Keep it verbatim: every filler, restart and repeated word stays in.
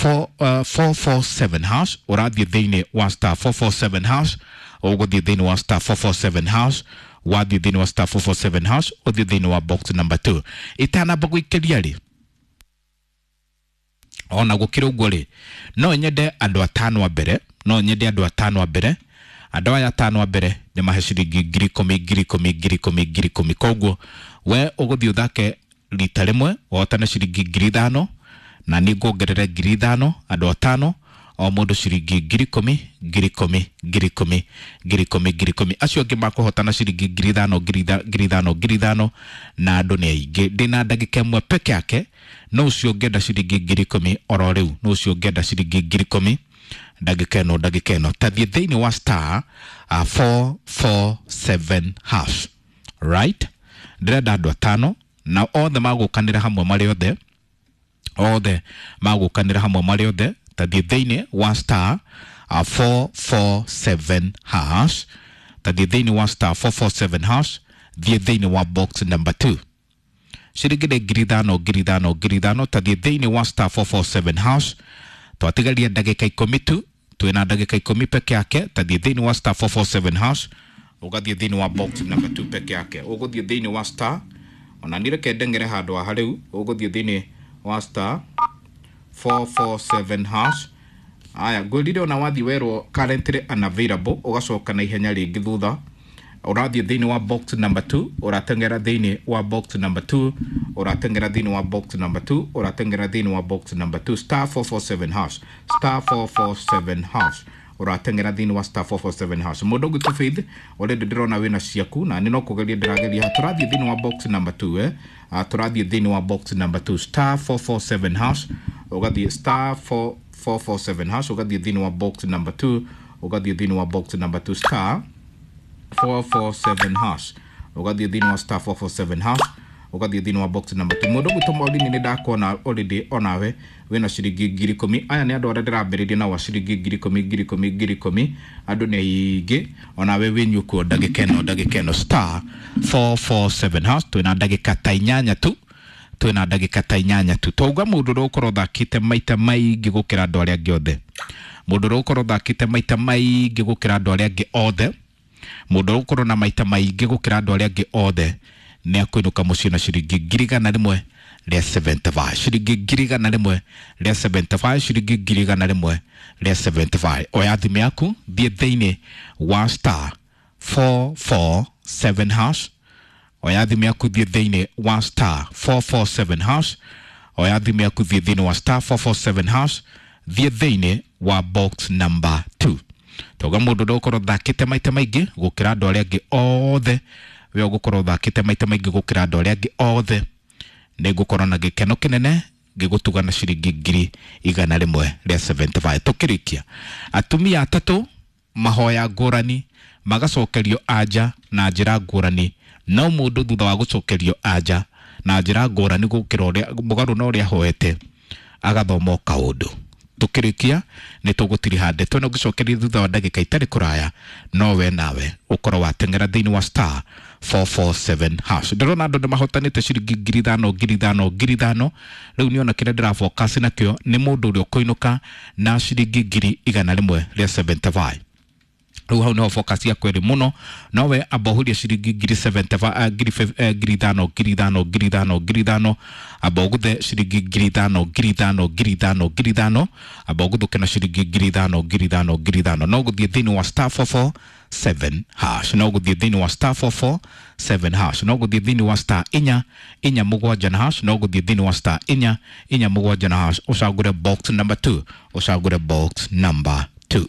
four four four seven hash. Ũrathiĩ thĩinĩ wa star four four seven hash, ũgũthiĩ thĩinĩ wa star four four seven hash, wathiĩ thĩinĩ wa star four four seven hash, ũthiĩ thĩinĩ wa box number two. Itanamba gũikĩria rĩ, ona gũkĩrĩ ũguo rĩ, no nyende andũ atano a mbere, no nyende andũ atano a mbere, andũ aya atano a mbere nĩ mahe ciringi ngiri ikũmi, ngiri ikũmi, ngiri ikũmi, ngiri ikũmi. Koguo we ũgũthiĩ ũthake rita rĩmwe ũhotane ciringi ngiri ithano, na niĩ nguongerere ngiri ithano, andũ atano o mũndũ ciringi ngiri ikũmi, ngiri ikũmi, ngiri ikũmi, ngiri ikũmi, ngiri ikũmi. Acio angĩ makũhotana ciringi ngiri ithano, ngiri ithano, ngiri ithano, na andũ nĩ aingĩ. Ndĩna ndagĩka ĩmwe peke yake, no ũcio ũngĩenda ciringi ngiri ikũmi oro rĩu, no ũcio ũngĩenda ciringi ngiri ikũmi ndagĩka ĩno, ndagĩka ĩno. Tathiĩ thĩinĩ wa star uh, four four seven hash, right? Ndĩrenda andũ atano na othe magũkanĩra hamwe marĩ othe, othe magũkanĩra hamwe marĩ othe. Tathiĩ thĩinĩ wa star uh, four four seven hash, tathiĩ thĩinĩ wa star four four seven hash, thiĩ thĩinĩ wa box number two. Ciringi nĩ ngiri ithano, ngiri ithano, ngiri ithano. Tathiĩ thĩinĩ wa star four four seven hash. Twatigaria ndagĩka ikũmi tu, twĩna ndagĩka ikũmi peke yake. Tathiĩ thĩinĩ wa star four four seven hash, ũgathiĩ thĩinĩ wa box number two peke yake. Ũgũthiĩ thĩinĩ wa star, ona niĩ reke ndeng'ere handũ haha rĩu, ũgũthiĩ thĩinĩ wa star four four seven hash. Aya, ngwĩrire ona wathiĩ werwo currently unavailable, ũgacoka na ihenya rĩngĩ thutha. Ũrathiĩ thĩinĩ wa box number two, ũrateng'era thĩinĩ wa box number two, ũrateng'era thĩinĩ wa box number two, ũrateng'era thĩinĩ wa box number two, star four four seven hash, star four four seven hash, ũrateng'era thĩinĩ wa star four four seven hash. Mũndũ ũngĩ Faith, already ndĩrona wĩna ciaku na nĩ no kũgeria ndĩrageria. Tũrathiĩ thĩinĩ wa box number two, eh, tũrathiĩ thĩinĩ wa box number two, star four four seven hash, ũgathiĩ star four four four seven hash, ũgathiĩ thĩinĩ wa box number two, ũgathiĩ thĩinĩ wa box number two, star four four seven hash, ũgathiĩ thĩinĩ wa star four four seven hash, ũgathiĩ thĩinĩ wa box number two. Mũndũ ũgwĩtwo Maureen, nĩ ndakuona already onawe wĩna ciringi ngiri ikũmi. Aya nĩ andũ arĩa ndĩrambĩrĩria nao a ciringi ngiri ikũmi, ngiri ikũmi, ngiri ikũmi. Andũ nĩ aingĩ, onawe wĩnyukuo ndagĩka ĩno, ndagĩka ĩno, star four four seven hash. Twĩna ndagĩka ta inyanya tu, twĩna ndagĩka ta inyanya tu. Twauga mũndũ ũrĩa ũkorwo ũthakĩte maita maingĩ gũkĩra andũ arĩa angĩ othe, mũndũ ũrĩa ũkorwo ũthakĩte maita maingĩ gũkĩra andũ arĩa angĩ othe, mũndũ ũrĩa ũkorwo na maita maingĩ gũkĩra andũ arĩa angĩ othe nĩ akũinũka mũciĩ na ciringi ngiri igana rĩmwe rĩa seventy five, ciringi ngiri igana rĩmwe rĩa seventy five, ciringi ngiri igana rĩmwe rĩa seventy five. Oya thimũ yaku, thiĩ thĩinĩ wa star four four seven hash. Oya thimũ yaku, thiĩ thĩinĩ wa star four four seven hash. Oya thimũ yaku, thiĩ thĩinĩ wa star four four seven hash, thiĩ thĩinĩ wa box number two. Tauga mũndũ ũrĩa ũkorwo ũthakĩte maita maingĩ gũkĩra andũ arĩa angĩ othe, we ũgũkorwo ũthakĩte maita maingĩ gũkĩra andũ arĩa angĩ othe, nĩ ngũkorwo na gĩkeno kĩnene ngĩgũtuga na ciringi ngiri igana rĩmwe rĩa seventy five. Tũkĩrĩkia, atumia atatũ mahoya ngũrani magacokerio anja na njĩra ngũrani, no mũndũ thutha wa gũcokerio anja na njĩra ngũrani gũkĩra ũrĩa mũgarũ na ũrĩa ahoete agathoma o kaũndũ. Tũkĩrĩkia nĩ tũgũtiriha ndeto ĩno ngĩcokeria thutha wa ndagĩka itarĩ kũraya, no we nawe ũkorwo wateng'era thĩinĩ wa star four four seven hash. Ndĩrona andũ nĩ mahotanĩte ciringi ngiri ithano, ngiri ithano, ngiri ithano. Rĩu niona kĩrĩa ndĩrafocus nakĩo nĩ mũndũ ũrĩa ũkũinũka na ciringi ngiri igana rĩmwe rĩa seventy five. Rĩu hau niho focus yakwa ĩrĩ mũno. Nowe amba ũhũrie ciringi ngiri seventy five, ngiri ngiri ithano, ngiri ithano, ngiri ithano, ngiri ithano. Amba ũguthe ciringi ngiri ithano, ngiri ithano, ngiri ithano, ngiri ithano. Amba ũguthũke na ciringi ngiri ithano, ngiri ithano, ngiri ithano. No gũthiĩ thĩinĩ wa star four four seven hash, no gũthiĩ thĩinĩ wa star four four seven hash, no gũthiĩ thĩinĩ wa star inya inya mũgwanja na hash, no gũthiĩ thĩinĩ wa star inya inya mũgwanja na hash, ũcagũre box number two, ũcagũre box number two.